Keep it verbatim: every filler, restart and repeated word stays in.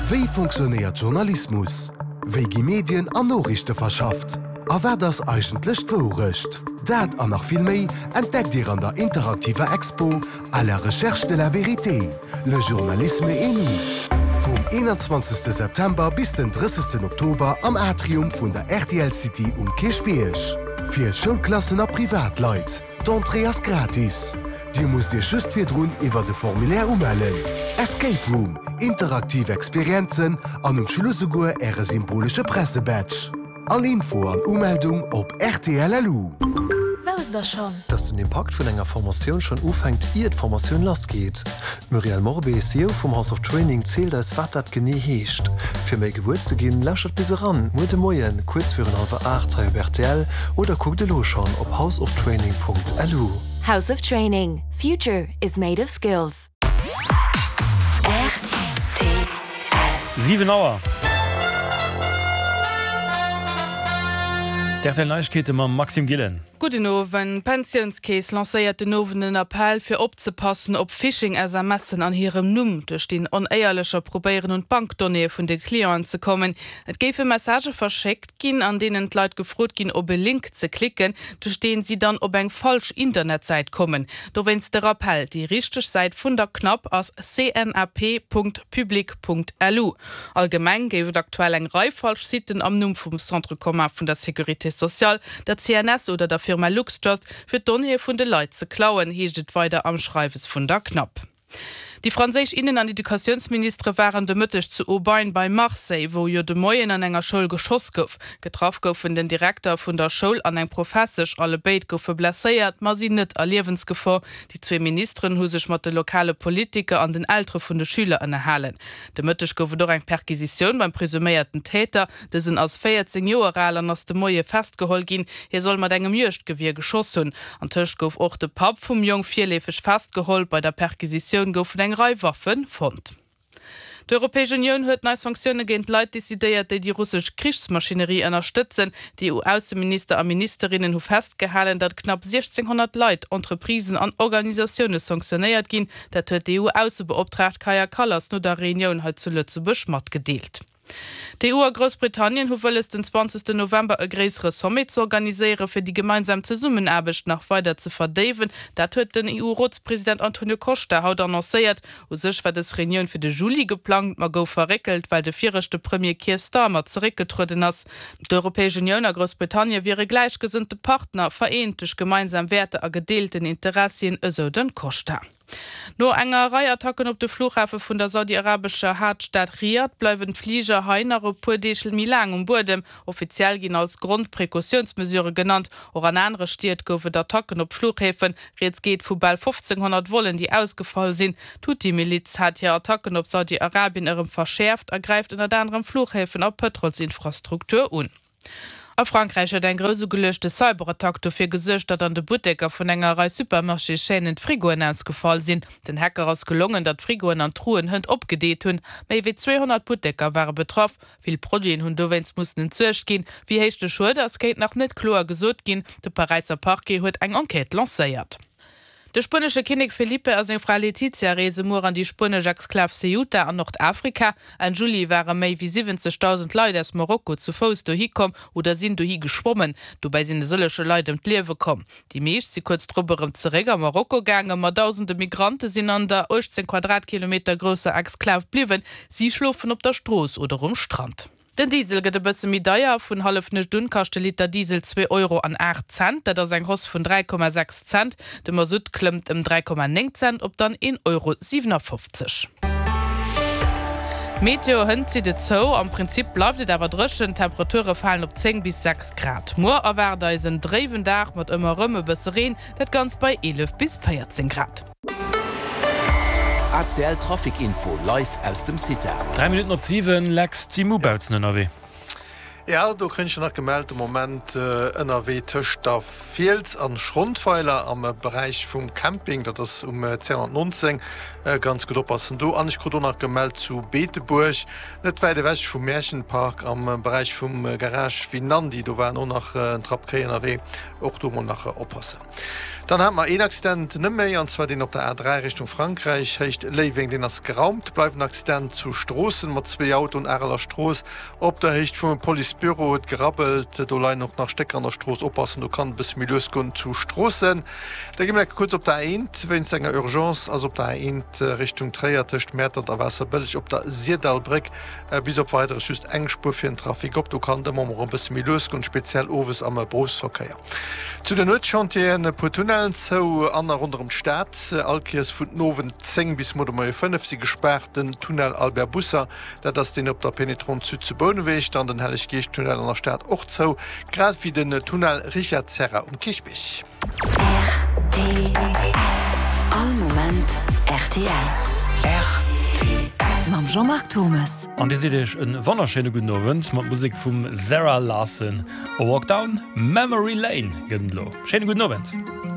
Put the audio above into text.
Wéi funktionéiert Journalismus? Wéi gi Medien an Noriichte verschafft? A wat ass eigentlech d'Wourecht? Dat an nach vill méi entdeckt Dir an der interaktiver Expo À la recherche de la vérité, le journalisme et nous. Vum eenanzwanzegste September bis den drëssegsten Oktober am Atrium vun der R T L City um Kierchbierg. Fir Schoulklassen a Privatleit. D'Entrée ass gratis. Dir musst Iech just virdrun iwwer de Formulaire umellen. Escape Room, interaktiv Experienzen an um Schluss souguer Äre symbolesche Pressebadge. All Info an Umeldung op R T L L U. Wousst der schonn? Dass den Impakt vun enger Formatioun schonn ufänkt, ier d'Formatioun lassgeet. D'Muriel Morbé, C E O vum House of Training, zielt eis, wat dat genee heescht. Fir méi gewuer ze ginn, lauschtert bis eran, muer de Moien, kuerz virun hallwer aacht hei op R T L oder kuckt elo schonn op houseoftraining Punkt L U. House of Training. Future is made of skills. Siwen Auer. D R T L Neiegkeete mam Maxime Gillen. Gudden Owend. D'Pensiounskeess lancéiert den Owend en Appell fir opzepassen op Phishing-S M Sen an hirem Numm, duerch déi Onéierlecher probéieren un d'Bankdonnéeë vun de Clienten ze kommen. Et géife Messagë verschéckt ginn, an deenen d'Leit gefrot ginn, op e Link ze klicken, duerch deen si dann op eng falsch Internetsäit kommen. Dowéinst de Rappell, déi richteg Säit vun der CNAP ass C N A P Punkt public Punkt L U. Allgemeng géif et aktuell eng Rei falsch Sitten am Numm vum Centre commun vun der Sécurité sociale, der C N S oder der Firma LuxTrust fir d'Donnéeë vun de Leit ze klauen, heescht et weider am Schreiwes vun der CNAP. Déi franséisch Innen an Educatiounsministere waren de Mëtteg zu Aubagne bei Marseille, wou jo de Moien an enger Schoul geschoss gouf. Getraff goufen den Direkter vun der Schoul an eng Professesch, allebéid goufe blesséiert, ma sinn net a Liewensgefor. Déi zwee Ministeren hu sech mat de lokale Politiker an den Eltere vun de Schüler ënnerhalen. De Mëtteg gouf et och eng Perquisitioun beim presuméierten Täter. Dësen ass véierzéng Joer al an ass de Moie festgeholl ginn. Hie soll mat engem Juegdgewier geschoss hunn. Antëscht gouf och de Papp vum Jong virleefeg festgeholl. Bei der Perquisitioun goufen eng Rei Waffe fonnt. D'Europäesch Unioun huet nei Sanktioune géint Leit decidéiert, déi déi russesch Krichsmaschinerie ënnerstëtzen. D'E U-Ausseminister a ministerinnen hu festgehalen, datt knapp siechzénghonnert Leit, Entreprisen an Organisatioune sanktionéiert ginn. Dat huet d'E U-Aussebeoptraagt Kaja Kallas no der Reunioun hei zu Lëtzebuerg matgedeelt. D'E U a Groussbritannien hu wëlles, den zwanzegsten November e gréissere Sommet ze organiséieren, fir déi gemeinsam Zesummenaarbecht nach weider ze verdéiwen. Dat huet den E U-Rotspresident Antonio Costa haut annoncéiert. U sech war dës Reunioun fir de Juli geplangt, ma gouf verréckelt, well de viregte Premier Keir Starmer zeréckgetrueden ass. D'Europäesch Unioun a Groussbritannien wiere gläichgesënnte Partner, vereent duerch gemeinsam Wäerter a gedeelten Interessien, esou de Costa. No enger Rei Attacken op de Flughafe vun der saudi-arabescher Haaptstad Riad bleiwen d'Fliger hei nach e puer Deeg méi laang um Buedem. Offiziell ginn als Grond Precautiounsmesurë genannt. Och an anere Stied gouf et Attacken op Fluchhäfen. Rieds geet vu bal fofzénghonnert Vollen, déi ausgefall sinn. D'Huthi-Miliz hat hir Attacken op Saudi-Arabien erëm verschäerft a gräift ënnert anerem Fluchhäfen a Pëtrolsinfrastruktur un. A Frankräich huet eng grouss ugeluechte Cyberattack dofir gesuergt, datt an de Butteker vun enger Rei Supermarchéschaînen d'Frigoen ausgefall sinn. Den Hacker ass gelongen, datt d'Frigoen an d'Truen hënt opgedeet hunn. Méi wéi zweehonnert Butteker ware betraff. Vill Produiten hunn dowéinst mussen entsuergt ginn. Wéi héich de Schued ass, kéint nach net kloer gesot ginn. De Paräisser Parquet huet eng Enquête lancéiert. De spuenesche Kinnek Felipe a seng Fra Letizia reese muer an déi spuenesch Exklav Ceuta an Nordafrika. Enn Juli ware méi wéi siwwenzegdausend Leit aus Marokko zu Fouss dohi komm oder sinn dohi geschwommen. Dobäi sinn e sëllege Leit ëm d'Liewe komm. Déi meescht si kuerz drop erëm zeréck a Marokko gaangen, ma dausende Migrante sinn an der uechtzéng Quadratkilometer grousser Exklav bliwwen. Si schlofen op der Strooss oder um Strand. Den Diesel gëtt e bësse méi deier, vun Hallefnuecht un kascht de Liter Diesel zwee Euro an aacht Cent, dat ass eng Hausse vun dräi Komma sechs Cent. De Masutt klëmmt ëm dräi Komma néng Cent op dann een Euro siwenafoffzeg. Meteo, Hënt zitt et zou, am Prinzip bleift et awer dréchen, d'Temperature falen op zéng bis sechs Grad. Muer erwaart eis en dréiwen Dag mat ëmmer erëm e bësse Reen, dat Ganzt bei eelef bis véierzéng Grad. A C L Trafic Info live aus dem CITA. Dräi Minutten op siwen, Lex, d'Simu Bautzen ënnerwee. Jo, do kréien ech nach gemellt, de Moment ënnerwee tëscht der Fiels an Schrondweiler am Beräich vum Camping, dat ass um zweehonnertnonzéng, ganz gutt oppassen do. An ech krut och nach gemellt zu Beetebuerg, net wäit ewech vum Märchenpark am Beräich vum Garage Winandy, do waren och nach en Trapp Kéi ënnerwee, och do mol nach oppassen. Dann hate mer een Accident net méi, an zwar deen op der A dräi Richtung Frankräich, Héicht Léiweng, deen ass geraumt. Bleift en Accident zu Stroossen mat zwee Autoen, Areler Strooss op der Héicht vum Policebüro huet gerabbelt. Do leien och nach Stécker an der Strooss, oppassen, do kann et e bësse méi lues goen zu Stroossen. Da gi mer enke kuerz op der A eent, wéinst enger Urgence ass op der A eent Richtung Tréier tëscht Mäertert a Waasserbëlleg op der Syrdallbréck bis op Weideres just eng Spuer fir den Trafic op. Do kann et ëmmer mol e bësse méi lues goen, speziell owes am Berufsverkéier. Zu den Nuetschantieren, e puer Tunnellen zou an a ronderëm d'Stad. All Kéiers vun den Owend zéng bis muer de Moie fënnef si gespaart. Den Tunnel Albert Busser, dat ass deen op der Pénétrante Sud zu Bouneweg, dann den Helleg-Geescht-Tunnel an der Stad och zou, grad wéi den Tunnel Richard Serra um Kierchbierg. Rtl, All Moment rtl. Rtl. Mam Jean-Marc Turmes. An Dir seet Iech en wonnerschéine gudden Owend mat Musek vum Zara Larsson. A Walk Down Memory Lane gëtt et elo. Schéine gudden Owend.